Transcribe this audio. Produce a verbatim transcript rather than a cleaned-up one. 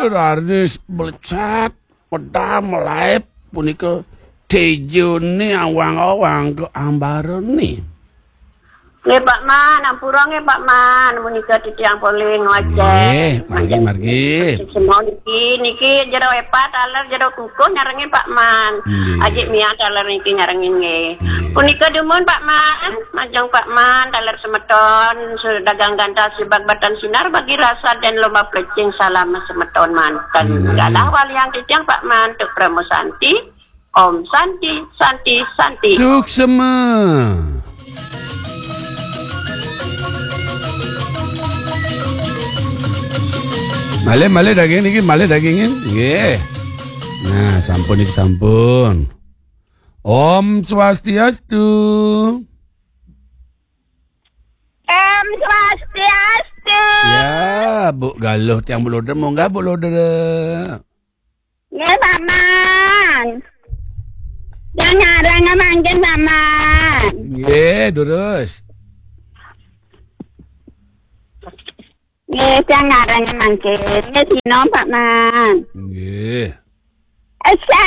Rarnis blecet, medam, melaep, punika tejone awang-awang ke ambarane. Nggih, Pak Man, ampura nggih, Pak Man, menika titiang polih ngoceh. Nggih, margi, margi. Semua niki, niki jero epat, taler jero kukuh nyarengin Pak Man. Nggih. Ajik Mia taler niki nyarengin nggih. Nggih. Punika dumun Pak Man, majeng Pak Man, taler semeton, dagang gantas jebak batan sinar bagi rasa dan lomba plecing salam semeton manten. Nggih. Galah waliang titiang Pak Man, tuk Pramo Santi, Om Santi, Santi, Santi. Suksema. Malih, malih daging niki, malih dagingin. Nggih. Nah, sampun niki sampun. Om Swastiastu. Om Swastiastu. Ya, Bu Galuh tiang Bu Loder, munggah Bu Loder. Nggih, Pak Man. Yang ngarang mangkin Pak Man. Nggih, durus. Nggih, yang ngarang mangkin. Nggih, sino Pak Man. Nggih. Esa.